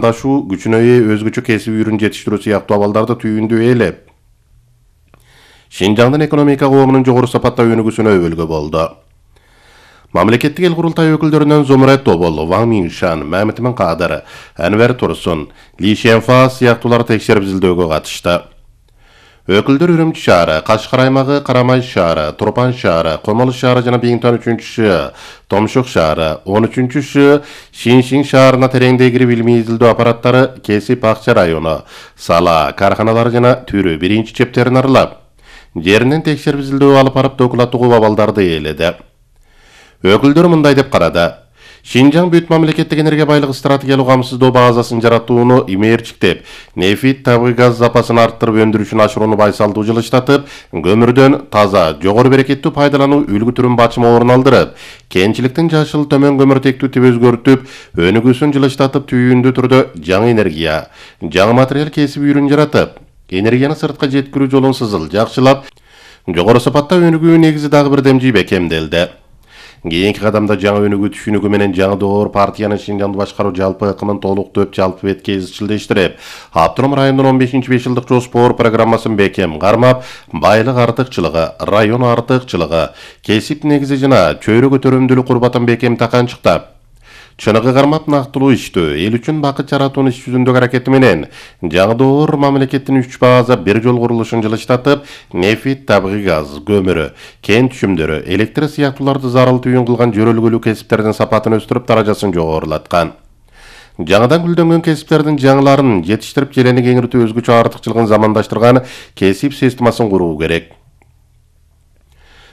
дашу күчүнө өзгөчө кесип үйрүн жетиштирүү сыяктуу абалдарды түйүндү ээлеп, Шинжаңдын экономика коомунун жогору сапаттуу өнүгүүсүнө өбөлгө болду. Мамлекеттик эл курултай өкүлдөрүнөн Зумрет Тобол, Ван Миншан, Мамитмин Кадыр, Анвер Турсун, Ли Шенфа сыяктуулар текшерип изилдөөгө катышты. Өкүлдөр Үрүмчү шаары, Кашкар аймагы, Карамай шаары, Турпан шаары, Комолу шаары жана Биңтан 3-ш, Томшук шаары, 13-ш, Шиншин шаарына тереңдей кирип илимий изилдөө аппараттары Кесип Акча району, Сала, карханалары жана Түрү биринчи чептерин аралап, жеринен текшерип изилдөө алып барып докуматтуу абалдарды ээледи. Өкүлдөр мындай деп карады. Шинжаң бүт мамлекеттик энергия байлыгы стратегиялык камсыздоо базасын жаратууну имээрчиктеп, нефит, табигый газ запасын арттырып өндүрүшүн ашырууну байсалдуу жылыштатып, көмүрдөн таза, жогору берекеттүү пайдалануу үлгү түрүн бачыма орун алдырып, кенчиликтин жашыл төмөн көмүртектүү тип өзгөртүп, өнүгүүсүн жылыштатып, түйүндүү түрдө жаңы энергия, жаңы материал кесип үйрүн жаратып, энергияны сыртка жеткирүү жолун сызыл жакшылап, жогору сапатта өнүгүү негизи дагы бир демжи бекемделди. Кийинки кадамда жаңы өнүгүү түшүнүгү менен жаңы доор партиянын Шинжаңды башкаруу жалпы ыкымын толуктоп, жалпы бетке изчилдештирип, Автоном райондун 15-5 жылдык жоспор программасын бекем кармап, байлык артыкчылыгы, район артыкчылыгы, кесип негизи жана чөйрө көтөрүмдүүлүк курбатын бекем таканчыктап, чыныгы кармап нактылуу иштөө, эл үчүн бакыт жаратуунун иш жүзүндөгү аракети менен жаңы доор мамлекеттин 3 база бир жол курулушун жылыштатып, нефит, табигый газ, көмүрү, кен түшүмдөрү, электр сыяктууларды зарыл түйүн кылган жөрөлгөлүү кесиптердин сапатын өстүрүп, даражасын жогорулаткан. Жаңыдан гүлдөнгөн кесиптердин жаңыларын жетиштирип, желени кеңиртүү, өзгөчө артыкчылыгын замандаштырган кесип системасын куруу керек.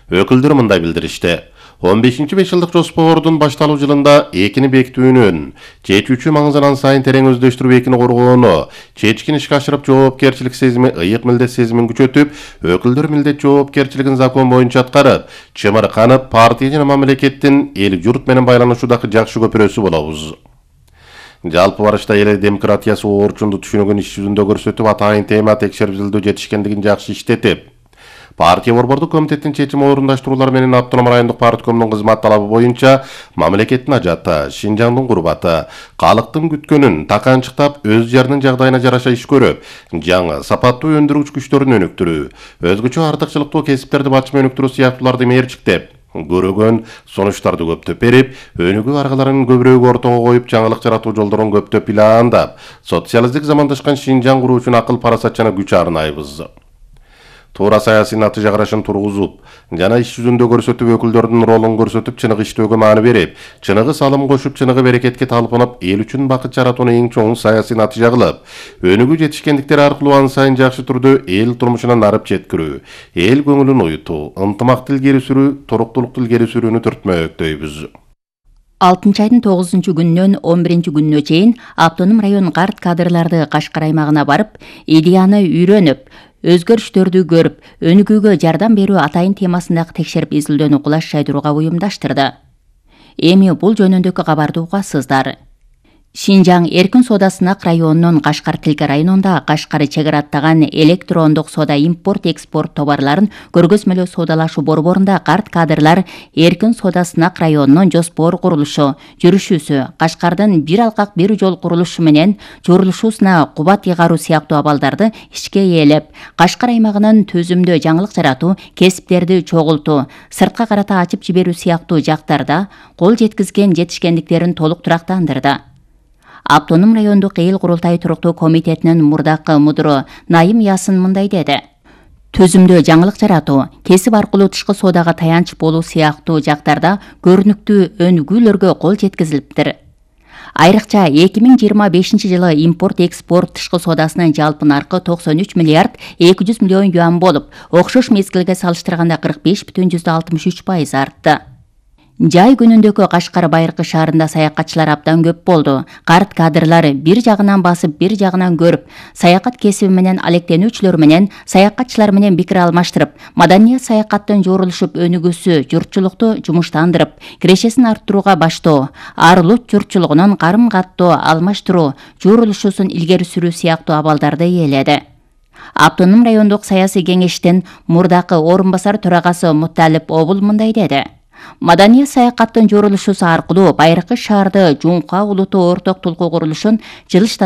Өкүлдөр мындай билдиришти. 15-5 жылдык жоспордун башталуу жылында экини бекитүүнүн, чечүүчү маңызын сайын терең өздөштүрүп, экини коргоону, чечкин ишке ашырып, жоопкерчилик сезими, ыйык милдет сезимин күчөтүп, өкүлдөр милдет жоопкерчилигин закон боюнча аткарып, чымырканып, партия жана мамлекеттин эл журт менен байланышуудагы жакшы көпүрөсү болобуз. Жалпы барышта эл демократиясы орчунду түшүнүгүн иш жүзүндө көрсөтүп, атайын тема текшерип изилдөө жетишкендигин жакшы иштетип, партия борбордук комитеттин чечим орундаштыруулары менен Автоном райондук парткомдун кызмат талабы боюнча мамлекеттин ажаты, Шинжаңдын курбаты, калктын күткөнүн таканчыктап, өз жеринин жагдайына жараша иш көрүп, жаңы сапаттуу өндүрүүчү күчтөрүн өнүктүрүү, өзгөчө артыкчылыктуу кесиптерди бачыма өнүктүрүү сыяктууларды мерчиктеп, көрөгөн сунуштарды көптөп берип, өнүгүү аргаларын көбүрөөк ортого коюп, жаңылык жаратуу жолдорун көптөп пландап, социалисттик замандашкан Шинжаң куруу үчүн акыл, парасат жана күч арнайбыз. Туура саясий натыйжа карашын тургузуп, жана иш жүзүндө көрсөтүп, өкүлдөрдүн ролун көрсөтүп, чыныгы иштөөгө маани берип, чыныгы салым кошуп, чыныгы берекетке талпынып, эл үчүн бакыт жаратууну эң чоң саясий натыйжа кылып, өнүгүү жетишкендиктер аркылуу ан сайын жакшы түрдө эл турмушуна нарып жеткирүү, эл көңүлүн уютуу, ынтымактуу илгери сүрүү, туруктуулукту илгери сүрүүнү түртмөктөйбүз. 6 айдын 9 күнүнөн 11 күнүнө чейин Автоном район карт кадрларды Кашкар аймагына барып, идеяны үйрөнүп, өзгөрүштөрдү көрүп, өнүгүүгө жардам берүү атайын темасындагы текшерип изилдөөнү кулаш жайдырууга уюмдаштырды. Эми бул жөнүндөгү кабарды угасыздар. Шинжаң эркин соода сынак районунун Кашкар Тилке районунда Кашкар чек ара аттаган электрондук соода импорт-экспорт товарларын көргөзмөлөө соодалашуу борборунда карт кадрлар эркин соода сынак районунун жоспор курулушу, жүрүшүүсү, Кашкардын бир алкак бир жол курулушу менен журулушуусуна кубат ыйгаруу сыяктуу абалдарды ишке ээлеп, Кашкар аймагынын төзүмдүү жаңылык жаратуу, кесиптерди чогултуу, сыртка карата ачып жиберүү сыяктуу жактарда кол жеткизген жетишкендиктерин толук турактандырды. Автоном райондук эл курултай туруктуу комитетинин мурдакы мудуру Найым Ясын мындай деди. Төзүмдүү жаңылык жаратуу, кесип аркылуу тышкы соодага таянч болуу сыяктуу жактарда көрүнүктүү өнүгүүлөргө кол жеткизилиптир. Айрыкча 2025 жылы импорт-экспорт тышкы соодасынын жалпы наркы 93 миллиард 200 миллион юан болуп, окшош мезгилге салыштырганда 45,63% артты. Жай күнүндөгү Кашкар Байыркы шаарында саякатчылар абдан көп болду. Карт кадрлар бир жагынан басып, бир жагынан көрүп, саякат кесиби менен алектенүүчүлөр менен, саякатчылар менен пикир алмаштырып, маданият саякаттын жорулушуп өнүгүүсү, журтчулукту жумуштандырып, кирешесин арттырууга баштоо, ар улут журтчулугунун карым-каттоо алмаштыруу, журулушуусун илгери сүрүү сыяктуу абалдарды ээледи. Автоном райондук саясий кеңештин мурдакы орун басар төрагасы Мутталип Обул мындай деди. Маданият саякаттын жорулушусу аркылуу байыркы шаарды Жумка улуттуу орток толкуу курулушун жылыштата